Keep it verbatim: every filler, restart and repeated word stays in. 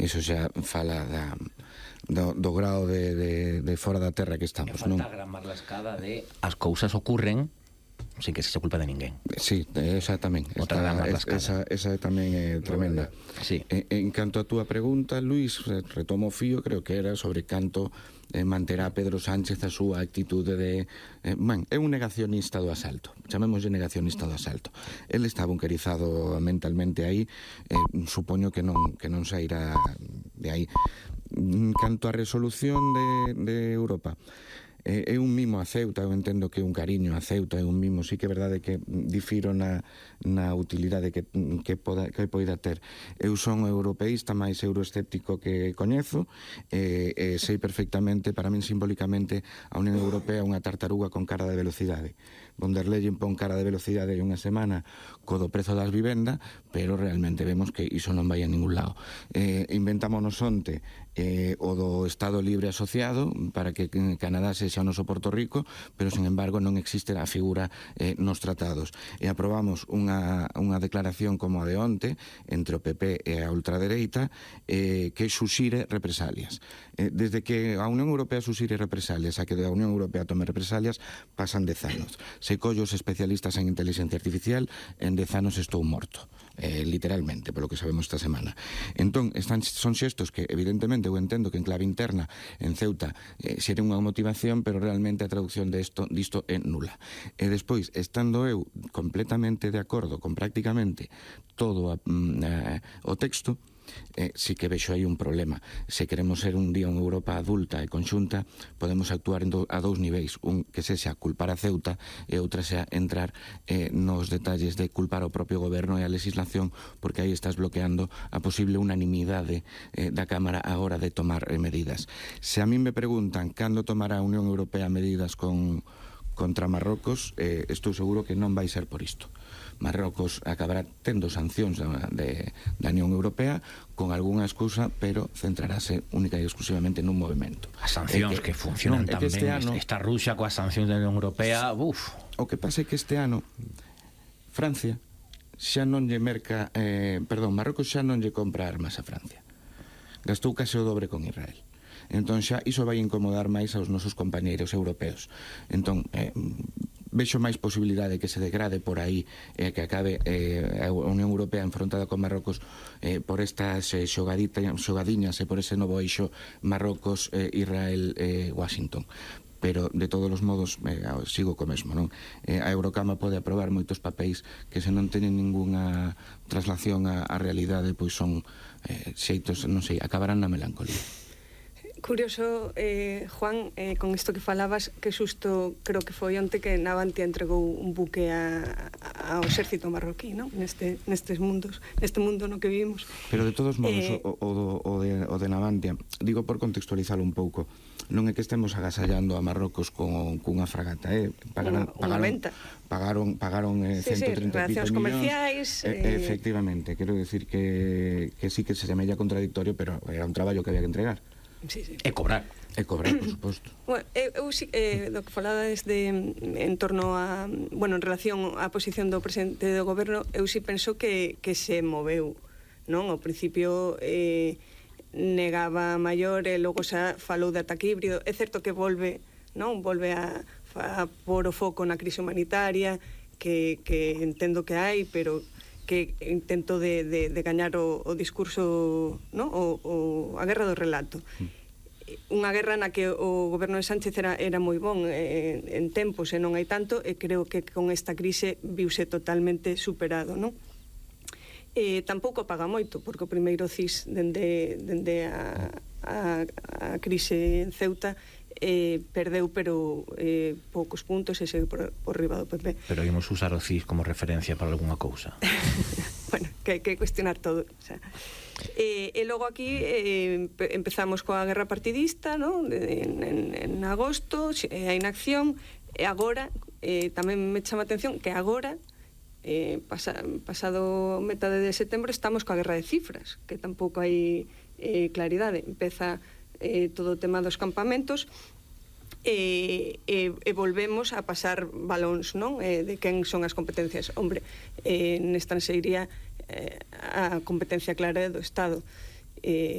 iso xa fala da, do, do grado de, de, de fora da terra que estamos, non? non? Falta a gran marlascada de as cousas ocurren sin que se culpa de ninguén. Sí, esa tamén. Outra gran marlascada. Esa, esa tamén é tremenda. Sí. En, en canto a túa pregunta, Luís, retomo o fío, creo que era sobre canto eh, manterá Pedro Sánchez a súa actitude de... Eh, man, é un negacionista do asalto. Chamémoslle negacionista do asalto. El está bunkerizado mentalmente aí, eh, supoño que non, que non sairá de aí. Canto a resolución de, de Europa, é un mimo a Ceuta, eu entendo que é un cariño a Ceuta, é un mimo, sí que é verdade que difiro na, na utilidade que, que, poda, que poida ter. Eu son europeísta máis euroescéptico que coñezo, e, e sei perfectamente, para min simbólicamente, a Unión Europea é unha tartaruga con cara de velocidade. Von der Leyen pon cara de velocidade hai unha semana co do prezo das vivendas, pero realmente vemos que iso non vai a ningún lado. Eh, inventámonos onte eh, o do Estado Libre Asociado para que Canadá sexa o noso Porto Rico, pero, sin embargo, non existe a figura eh, nos tratados. E aprobamos unha, unha declaración como a de onte entre o P P e a ultradereita eh, que suxire represalias. Eh, desde que a Unión Europea suxire represalias a que a Unión Europea tome represalias pasan dez anos. Se collo os especialistas en inteligencia artificial, en dez anos estou morto. Eh, literalmente, polo que sabemos esta semana. Entón, están, son xestos que, evidentemente, eu entendo que en clave interna, en Ceuta, eh, xere unha motivación, pero realmente a traducción disto, disto é nula. E despois, estando eu completamente de acordo con prácticamente todo a, a, o texto, Eh, sí que vexo aí un problema. Se queremos ser un día unha Europa adulta e conxunta, podemos actuar en do, a dous niveis, un que sexa culpar a Ceuta e outra sea entrar eh, nos detalles de culpar ao propio goberno e a legislación, porque aí estás bloqueando a posible unanimidade eh, da Cámara a hora de tomar eh, medidas. Se a mí me preguntan cando tomará a Unión Europea medidas con contra Marrocos, eh, estou seguro que non vai ser por isto. Marrocos acabará tendo sancións da, de, da Unión Europea con algunha excusa, pero centrarase única e exclusivamente nun movimento. As sancións que, que funcionan non, tan ben, este ano, esta Rusia coas sancións da Unión Europea, uf. O que pasa é que este ano Francia xa non lle merca, eh, perdón, Marrocos xa non lle compra armas a Francia. Gastou case o dobre con Israel. Entón xa iso vai incomodar máis aos nosos compañeiros europeos. Entón, eh, vexo máis posibilidade que se degrade por aí e eh, que acabe eh, a Unión Europea enfrontada con Marrocos eh, por estas eh, xogadiñas e por ese novo eixo Marrocos, eh, Israel, eh, Washington. Pero, de todos os modos, eh, sigo co mesmo, non? Eh, a Eurocama pode aprobar moitos papéis que se non teñen ningunha traslación á, á realidade, pois son eh, xeitos, non sei, acabarán na melancolía. Curioso, eh, Juan, eh, con isto que falabas, que xusto creo que foi onte que Navantia entregou un buque a, a, ao exército marroquí, non? Neste, nestes mundos, neste mundo no que vivimos. Pero, de todos modos, eh, o, o, o, de, o de Navantia, digo por contextualizalo un pouco, non é que estemos agasallando a Marrocos con cunha fragata, eh? Pagaron, unha, unha venta. Pagaron, pagaron eh, sí, ciento treinta sí, pico millóns. Comerciais. Eh, eh, efectivamente, quero decir que, que sí que se semella contradictorio, pero era un traballo que había que entregar. Sí, sí. E cobrar. E cobrar, por suposto. Bueno, eu, eh, do que falades de, en torno a, bueno, en relación á posición do presidente do goberno, eu si penso que, que se moveu, non? Ao principio eh, negaba maior e logo xa falou de ataque híbrido. É certo que volve, non? Volve a, a pôr o foco na crise humanitaria, que, que entendo que hai, pero que intento de, de, de gañar o, o discurso, no? o, o, a guerra do relato. Mm. Unha guerra na que o goberno de Sánchez era, era moi bon eh, en tempos e non hai tanto, e creo que con esta crise viuse totalmente superado, non? E tampouco paga moito, porque o primeiro C I S dende, dende a, a, a crise en Ceuta eh, perdeu, pero eh, poucos puntos e segue por, por riba do P P. Pero ímos usar o C I S como referencia para algunha cousa. Bueno, que hai que cuestionar todo, o sea. E, e logo aquí eh, empezamos coa guerra partidista, ¿no? en, en, en agosto, a inacción, e agora eh, tamén me chama a atención que agora eh, pasa, pasado metade de setembro estamos coa guerra de cifras, que tampouco hai eh, claridade. Empeza eh, todo o tema dos campamentos e, e, e volvemos a pasar balóns, non? Eh, de quen son as competencias. Hombre, eh, nesta se iría eh, a competencia clara do Estado. Eh,